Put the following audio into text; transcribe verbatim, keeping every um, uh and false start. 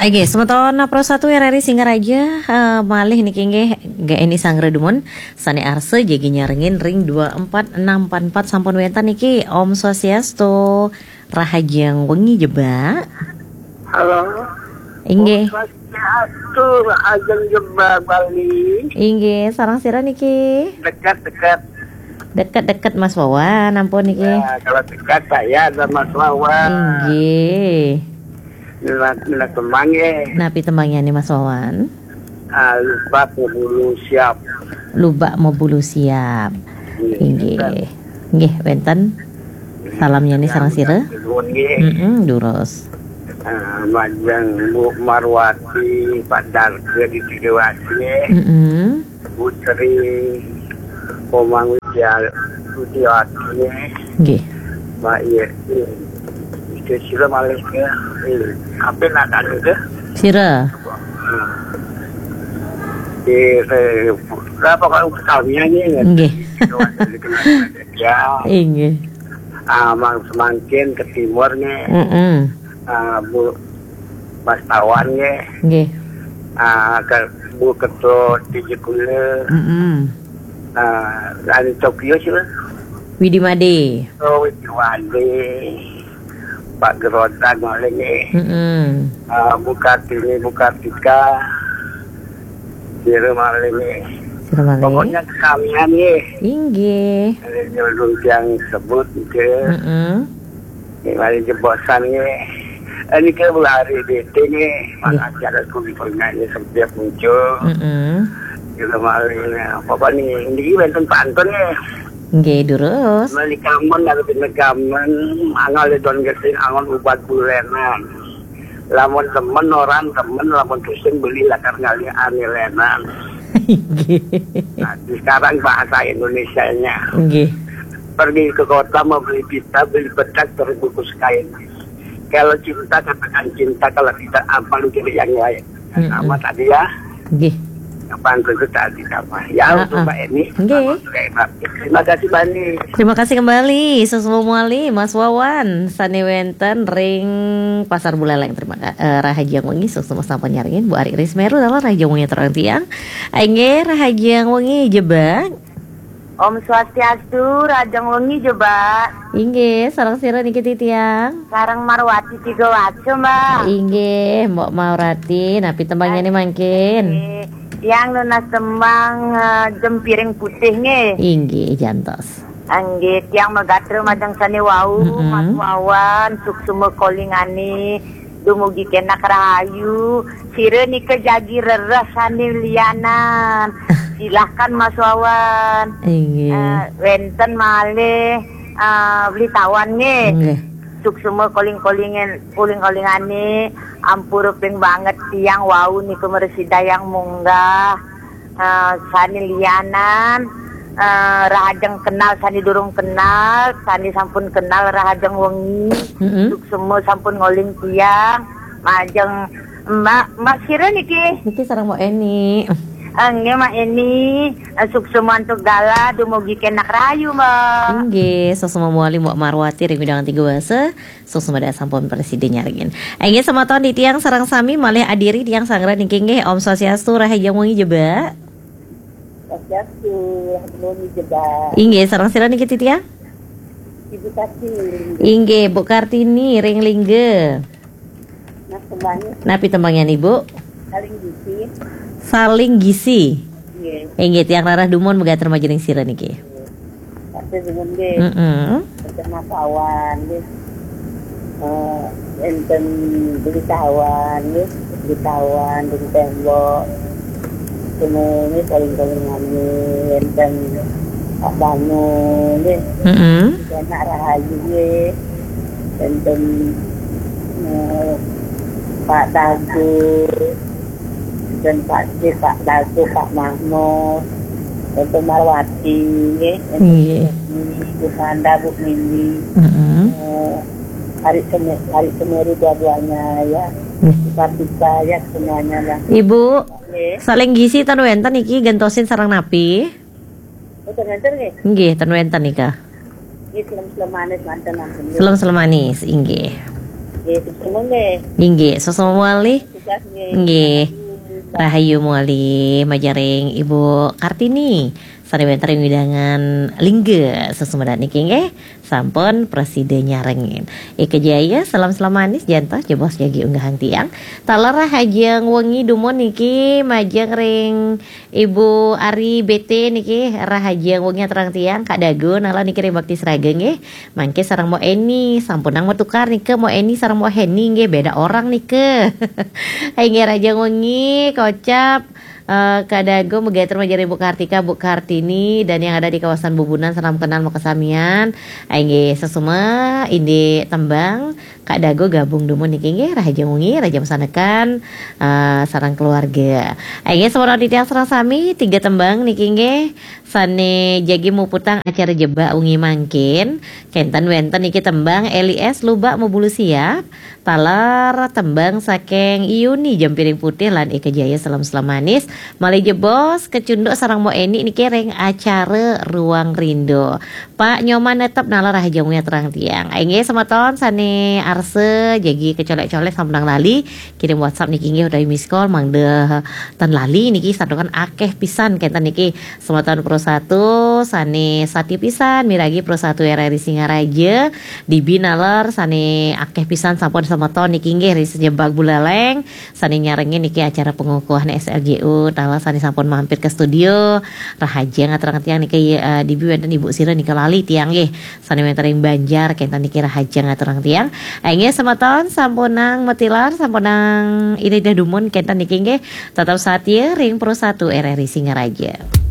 Oke, semeton Pro satu R R I Singaraja, eh, malih niki nggih, Eni Sanggra Dumon, sane arsa jagi nyarengin ring dua empat enam empat empat sampun wenten niki. Om Swastiastu, rahajeng wengi Jebak. Halo. Inggih. Om Swastiastu, rahajeng Jebak Bali. Inggih, sareng sira niki? Dekat-dekat. Deket-deket Mas Wawan, ampun niki. Ya, kalau dekat saya ada Mas Wawan. Inggih. Minat, minat tembang nggih. Napi tembangyane Mas Wawan? Ah, Lubak Mebulu Siap. Lubak Mebulu Siap. Inggih. Inggih. Nggih, wenten. Salamnya nih sareng sira. Nuwun nggih. Mm-mm, durus. Ah, majeng Bu Marwati, Pak Darga di Tiga Wasi nggih. Mm-mm. Putri Komang Widya Widiawati nggih. Nggih. Mbak Yesi. Itu sila malih nggih. Eh, apa nak anu ke? Sira. Hmm. Di, eh, apa kalau kami nggih. Nggih. Ya. Inggih. Ah, mang semangkin ke timur nggih. Mm-mm. Ah, Bu Bastawan nggih. Nggih. Ah, ke Bu Ketut di Jekule. Mm-mm. Ah, dari Tokyo sih, Mas. Widi Made. Oh, Widi Made. Pak Gerodak malih nggih. Mm-mm. Ah, Bu Kartini, Bu Kartika. Sira malih nggih. Sira malih. Pokoknya kesamian nggih. Inggih. Nyeludung tiang sebut nggih. Mm-mm. Ini malih jebosan nggih. Ini ke Bu Hari D T nggih. Nggih. Makasih ada kulit penyanyi setiap muncul. Mm-mm. Sira malih nggih. Apa nih? Ini wenten pantun nggih. Nggih, durus. Meli kamen, ada pina kamen, angal don gesing, angon ubat bulenan. Lamun temen, orang temen, lamun pusing, beli lakar ngali anilenan. Nggih. Nah, sekarang bahasa Indonesianya. Nggih. Pergi ke kota, mau beli pita, beli bedak, terbungkus kain. Kalau cinta, katakan cinta, kalau tidak, apa lu cari yang lain. Mm-mm. Sama tadi ya. Nggih. Kapan itu tadi apa? Ya, untuk Mbak Eni. Nggih. Terima kasih, Mbak Eni. Terima kasih kembali, Suksma malih, Mas Wawan, sane wenten ring Pasar Buleleng. Terima kasih, eh, rahajeng wengi, suksma sampun nyarengin, Bu Ari Rismeru, dalam rahajeng wengi terang tiang. Inggih, rahajeng wengi Jebak. Om Swastiastu, rahajeng wengi Jebak. Inggih, sareng sira niki titiang? Sareng Marwati Tiga Waca, Mbak. Inggih, Mbok Marwati, napi tembangyane mangkin? Inggih. Tiang nunas tembang, eh, Jempiring Putih nggih. Inggih, jantos. Inggih, tiang magatra majeng sane wau, mm-mm. Mas Wawan, suksma kolingane, dumugi kenak rahayu. Sira nika jagi rereh sane lianan. Silahkan Mas Wawan. Inggih. Eh, wenten malih, eh, Beli Tawan nggih. Nggih. Suksma koling-kolingen, koling-kolingane, ampura ping banget tiang wau nika mresidayang munggah. Eh, sane lianan, eh, rahajeng kenal, sane durung kenal, sane sampun kenal rahajeng wengi. Mm-mm. Suksma sampun ngoling tiang, majeng Mbak, Mbak sira niki? Niki sareng Mbok Eni. Eh, nggih, Mbak Eni. Eh, suksma antuk galah, dumugi kenak rahayu, Mbak. Inggih, suksma malih Mbok Marwati ring Widang Tiga Wasa. Suksma sampun prasida nyarengin. Inggih, semeton titiang sareng sami malih adiri tiang sanggra niki nggih. Om Swastiastu, rahajeng wengi Jebak. Swastiastu, rahajeng wengi Jebak. Inggih, sareng sira niki titiang? Ibu Kartini. Inggih, Bu Kartini ring Lingga. Nah, tembangnya napi tembangnya, Ibu? Saling Gisi. Saling Gisi. Nggih. Inggih, tiang rarah dumun megater majeng sira niki. Tapi dumun nggih. Mm-mm. Bersama kawan nggih. Eh, enten Beli Tawan nggih. Beli Tawan, Beli Tembok. Semuanya paling-paling kami, enten Pak Banu nggih. Mm-mm. Enak rahayu nggih. Enten, eh, Pak Dago, enten Pak Cik, Pak Dago, Pak Mahmud, enten Marwati nggih. Enten nggih. Bu Manda, Bu Mimi. Mm-mm. Eh, Ari Seme-, Ari Semeru dua-duanya ya. Nggih. Kita-kita ya semuanya lah. Ibu, nggih. Saling Gisi ten wenten niki gentosin sareng napi? Oh, ten wenten nggih? Nggih, ten wenten nika. Nggih, selem-selem manis manten ampun, nggih. Selem-selem manis, inggih. Nggih, suksma nggih. Inggih, suksma malih. Nggih. Rahayu malih majeng ring Ibu Kartini. Sané wénten ring wewidangan Lingga Sesumedang niki nggih. Sampun prasida nyarengin. Eka Jaya, salam-salam manis, jantos jebos jagi unggahang tiang. Taler rahajeng wengi dumun niki majeng ring Ibu Ari B T niki, rahajeng wengi aturang tiang, Kak Dago, nala niki ring Bakti Seraga nggih. Mangke sareng Mbok Eni, sampunang matukar nika, Mbok Eni sareng Mbok Heni nggih, beda orang nika. Inggih rahajeng wengi, kocap eh, Kak Dago, megatur majeng ring Bu Kartika, Bu Kartini, dan yang ada di kawasan Bubunan, salam kenal makasamian. Inggih sesama, indik tembang, Kak Dago gabung dumun niki nggih, rahajeng wengi, rahajeng masanekan, eh, sareng keluarga. Inggih semeton titiang sareng sami, tiga tembang niki nggih, sané jagi muputang acara Jebak wengi mangkin. Kénten wénten niki tembang Eli S Lubak Mebulu Siap, taler tembang saking Yuni Jempiring Putih lan Eka Jaya, salam-salam manis. Malih jebos kacunduk sareng Mbok Eni niki ring acara Ruang Rindu. Pak Nyoman netep, nala rahajeng wengi aturang tiang. Inggih semeton sané arsa jagi kacolek-colek sampunang lali kirim WhatsApp niki nggih utawi miss call, mangda tan lali niki, santukan akéh pisan kénten niki. Semeton Pro satu sané satia pisan miragi Pro satu R R I Singaraja, D B naler sané akéh pisan sampun semeton niki nggih ring sajebag Buleleng, sané nyarengin niki acara pengukuhan S L J U, taler sané sampun mampir ke studio, rahajeng aturang tiang niki, eh, D B wénten Ibu Sira nika lali tiang nggih, sané wénten ring Banjar, kénten niki rahajeng aturang tiang. Inggih semeton sampunang matilar, sampunang ida-ida dumun kénten niki nggih, tetep satia ring Pro satu R R I Singaraja.